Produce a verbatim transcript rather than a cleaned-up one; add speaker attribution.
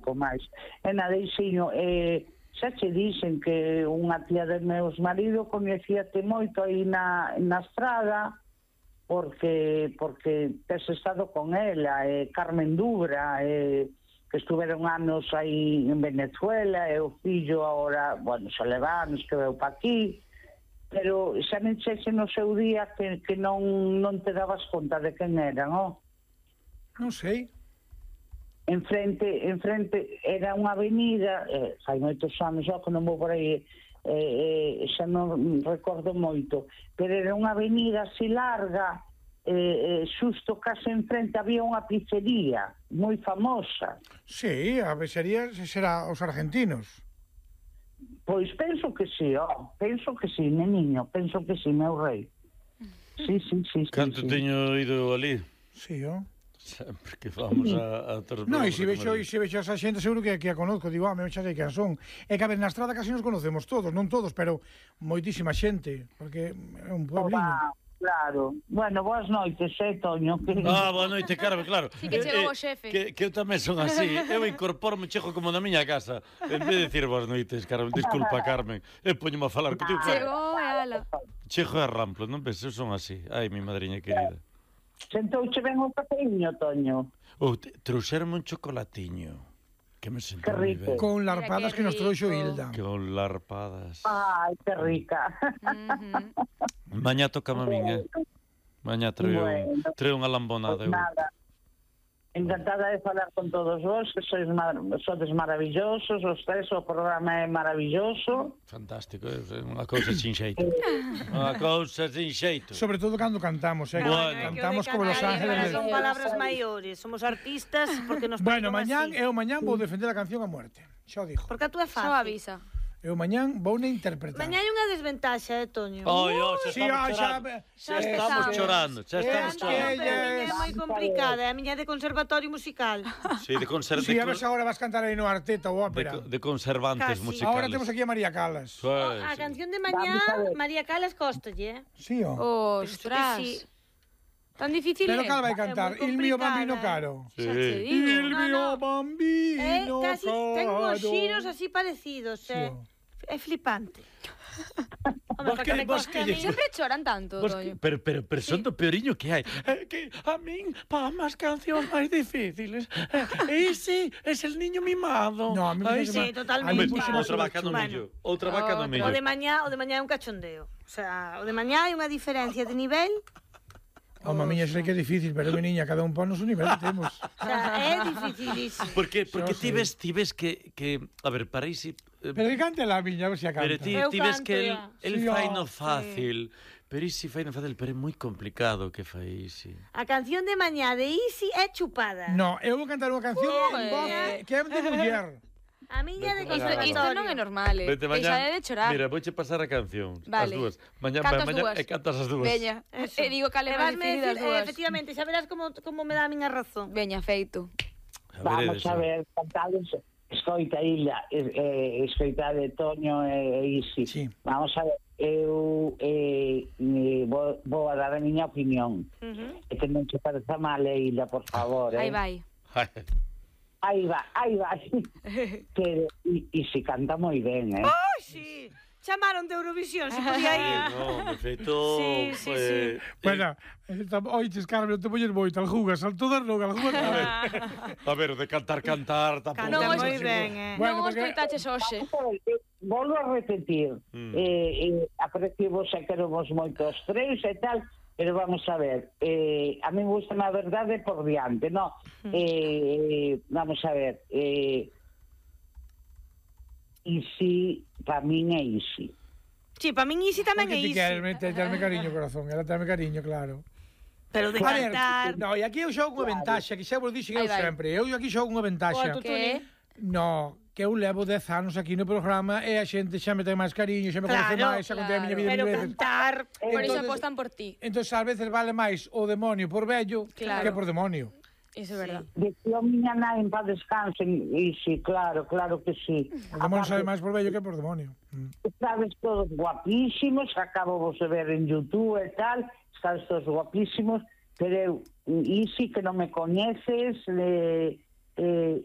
Speaker 1: pouco máis. E nada, Isiño, eh, xa che dixen que unha tía de meus marido coñecíate moito aí na, na estrada, porque porque tes estado con ela, eh, Carmen Dubra, eh, que estuveron anos aí en Venezuela, e o fillo agora, bueno, xa leva anos que veu pa aquí, pero xa me chexe no seu día que, que non, non te dabas conta de quen eran, oh?
Speaker 2: Non sei.
Speaker 1: Enfrente, enfrente era unha avenida, eh, fai moitos anos, xa que non vou por aí, eh, eh, xa non recordo moito, pero era unha avenida así larga, eh, eh, xusto case enfrente había unha pizzería moi famosa.
Speaker 2: Sí, a pizzería será os argentinos.
Speaker 1: Pois penso que sí, oh, penso que sí, neniño, penso que sí, meu rei. Sí, sí, sí.
Speaker 3: Canto
Speaker 1: sí,
Speaker 3: teño ido ali?
Speaker 2: Sí, oh.
Speaker 3: Sempre que vamos a... a
Speaker 2: no, e se vexo, e se vexo a esa xente seguro que, que a conozco, digo, ah, me xa sei que son. É que a ver, na estrada casi nos conocemos todos, non todos, pero moitísima xente, porque é un puebliño.
Speaker 1: Oh, claro. Bueno, boas noites, eh, Toño. Que...
Speaker 3: Ah, boa noite, Carmen, claro.
Speaker 4: Sí, que chegou o xefe.
Speaker 3: Que, que eu tamén son así. Eu incorporo-me, chego como na miña casa. En vez de decir boas noites, Carmen, disculpa, Carmen. Eu poñome a falar contigo.
Speaker 4: Chegou e ala.
Speaker 3: Chego e arramplo, non ves? Eu son así. Ai, mi madriña querida.
Speaker 1: Sentouche ben o cafeíño, Toño.
Speaker 3: Ou oh, trouxerme un chocolatiño. Que me sentou
Speaker 1: moi ben.
Speaker 2: Con larpadas que, que nos trouxo Hilda.
Speaker 3: Con larpadas.
Speaker 1: Ai, que rica.
Speaker 4: Uh-huh.
Speaker 3: Mañá toca a min, eh? Mañá treo, bueno, treo unha lambonada.
Speaker 1: Pues nada. Encantada de falar con todos vos, que sois mar sodes maravillosos, os tres, o programa é maravilloso.
Speaker 3: Fantástico, é unha cousa sin xeito. Unha cousa sin xeito.
Speaker 2: Sobre todo cando cantamos, eh?
Speaker 3: Bueno,
Speaker 2: cantamos como Los Ángeles.
Speaker 5: Son palabras maiores, somos artistas porque nos
Speaker 2: Bueno, mañán, eu mañán vou defender a canción a muerte. Xa o dixo.
Speaker 5: Porque a tú é fácil.
Speaker 4: Só avisa.
Speaker 2: Eu mañán vou na interpretar.
Speaker 5: Mañá hai unha desventaxa, eh, Toño.
Speaker 3: Oi, oh, xa
Speaker 2: sí,
Speaker 3: estamos
Speaker 2: oh,
Speaker 3: chorando.
Speaker 5: Xa,
Speaker 3: xa estamos
Speaker 5: xa
Speaker 3: chorando, xa estamos
Speaker 2: es
Speaker 3: chorando.
Speaker 5: A miña é moi complicada, a miña é de conservatorio musical.
Speaker 3: Sí, de conservantes.
Speaker 2: Sí, a ver se agora vas cantar aí no Arteta ou ópera.
Speaker 3: De, de conservantes
Speaker 5: Casi.
Speaker 3: musicales.
Speaker 2: Ahora temos aquí a María Calas.
Speaker 3: Sí,
Speaker 5: A
Speaker 3: sí.
Speaker 5: canción de mañá, María Calas Costalle, eh?
Speaker 2: Sí, oh.
Speaker 4: Ostras.
Speaker 5: Sí.
Speaker 4: Tan difícil
Speaker 2: Pero
Speaker 4: é.
Speaker 2: cal vai cantar?
Speaker 5: É moi
Speaker 2: Il mio
Speaker 5: complicada,
Speaker 2: bambino
Speaker 5: eh.
Speaker 2: caro.
Speaker 3: Sí.
Speaker 4: Xa te digo.
Speaker 2: Il
Speaker 5: No,
Speaker 2: mio
Speaker 5: no.
Speaker 2: bambino
Speaker 5: Eh, casi
Speaker 2: caro.
Speaker 5: ten uns xiros así parecidos,
Speaker 2: Sí,
Speaker 5: eh?
Speaker 2: oh.
Speaker 5: É flipante. Home,
Speaker 3: Vos
Speaker 5: porque
Speaker 3: que-
Speaker 5: me
Speaker 3: vos
Speaker 5: costa
Speaker 3: que
Speaker 5: a
Speaker 3: lle-
Speaker 5: mí.
Speaker 4: Sempre choran tanto,
Speaker 3: Vos
Speaker 4: Toño.
Speaker 3: que- pero, pero, pero son do peoriño que hai. É que a min, pa máis cancións máis difíciles. E ese es el niño mimado.
Speaker 2: No, a mí me
Speaker 3: Ai,
Speaker 2: parece
Speaker 5: Sí,
Speaker 2: mal.
Speaker 5: totalmente.
Speaker 2: A mí
Speaker 3: Hombre,
Speaker 2: puxo
Speaker 5: Bueno,
Speaker 2: máis
Speaker 3: outra vaca no
Speaker 5: bueno.
Speaker 3: millo. Outra vaca no
Speaker 4: Outra.
Speaker 3: millo.
Speaker 5: O de mañá, o de mañá é un cachondeo. O sea, o de mañá hai unha diferencia de nivel.
Speaker 2: Home, a miña sei que é difícil, pero mi niña, cada un pon o nivel que temos.
Speaker 5: O sea, é dificilísimo.
Speaker 3: Porque, porque
Speaker 2: Xa
Speaker 3: ti
Speaker 2: sei.
Speaker 3: ves, ti ves que, que... A ver, para isi... eh,
Speaker 2: Pero que cante la miña, a ver se a canta.
Speaker 3: Pero ti,
Speaker 5: Eu
Speaker 3: ti ves
Speaker 5: canto,
Speaker 3: que el,
Speaker 5: ya.
Speaker 3: el
Speaker 2: Sí,
Speaker 3: fai
Speaker 2: oh,
Speaker 3: no fácil. Pero isi fai no fácil, pero é moi complicado que fai isi.
Speaker 5: A canción de mañá de Easy é chupada.
Speaker 2: No, eu vou cantar unha canción
Speaker 4: Ué.
Speaker 2: en voz que é de muller.
Speaker 5: A miña é de
Speaker 3: Vete,
Speaker 4: Isto,
Speaker 3: Claro.
Speaker 4: isto non é
Speaker 5: conservatorio.
Speaker 4: normal, eh.
Speaker 3: Vete
Speaker 4: Que xa
Speaker 3: mañá.
Speaker 4: é de chorar.
Speaker 3: Mira, vouche pasar a canción.
Speaker 4: Vale.
Speaker 3: As dúas. Mañá,
Speaker 4: Canto as
Speaker 3: mañá
Speaker 4: dúas.
Speaker 3: e cantas as dúas.
Speaker 4: Veña.
Speaker 5: Eso.
Speaker 4: E digo cal é
Speaker 5: E
Speaker 4: máis
Speaker 5: vasme
Speaker 4: difícil das
Speaker 5: decir, eh,
Speaker 4: dúas.
Speaker 5: efectivamente, xa verás como, como me dá a miña razón.
Speaker 4: Veña, feito.
Speaker 3: A
Speaker 1: Vamos
Speaker 3: veredes,
Speaker 1: a
Speaker 3: eh.
Speaker 1: ver, cantados, escoita Hilda, eh, escoita de Toño e Isi.
Speaker 2: Sí.
Speaker 1: Vamos a ver, eu eh, eh, vou, vou a dar a miña opinión.
Speaker 5: Uh-huh.
Speaker 1: E que non se pareza mal, eh, Hilda, por favor. Eh.
Speaker 4: Aí vai.
Speaker 1: Aí va, aí va. Que, e, e se canta moi ben, eh.
Speaker 5: Ai, sí. Chamaron de Eurovisión, se podía ir.
Speaker 3: No, me feito...
Speaker 5: Sí, sí,
Speaker 3: pues,
Speaker 5: sí.
Speaker 3: eh,
Speaker 2: Bueno, oiches, Carmen, non te poñes moito, aljugas, al todas non, aljugas non.
Speaker 3: A ver, de cantar, cantar, tampouco.
Speaker 5: Canta
Speaker 4: Non,
Speaker 5: moi
Speaker 4: es-
Speaker 5: ben, eh.
Speaker 2: Bueno,
Speaker 4: non os
Speaker 2: porque-
Speaker 4: coitaches hoxe.
Speaker 1: Volvo a repetir.
Speaker 3: Mm.
Speaker 1: Eh, eh, aprecio vos e queremos moito os tres e tal, pero vamos a ver, eh, a mí me gusta a verdade por diante, no? Eh, vamos a ver, eh, Easy, para min é Easy.
Speaker 5: Sí, para min Easy tamén é
Speaker 2: Porque ti
Speaker 5: Easy.
Speaker 2: queres meter, darme cariño, corazón, ela dame cariño, claro.
Speaker 5: Pero de
Speaker 2: A ver,
Speaker 5: cantar...
Speaker 2: no, e aquí eu xogo unha ventaxa, que xa vos dixen eu
Speaker 4: Aí vai.
Speaker 2: sempre, eu aquí xogo unha ventaxa.
Speaker 5: O
Speaker 4: Que?
Speaker 2: No, que eu levo dez anos aquí no programa e a xente xa me ten máis cariño, xa me conoce
Speaker 5: Claro,
Speaker 2: máis, xa contei a miña vida
Speaker 5: Pero
Speaker 2: mil veces.
Speaker 5: cantar...
Speaker 4: Por iso
Speaker 2: Entonces-
Speaker 4: apostan por ti.
Speaker 2: Entón, ás veces vale máis o demonio por vello
Speaker 4: Claro.
Speaker 2: que por demonio.
Speaker 4: Iso é verdad.
Speaker 1: Decía miña nai en paz descansen, Easy, claro, claro que sí.
Speaker 2: O demonio sabe máis por vello que por demonio. Mm.
Speaker 1: Estabes todos guapísimos, acabo vos de ver en YouTube e tal, estabes todos guapísimos, pero eu, Easy, que non me coñeces, eh, eh,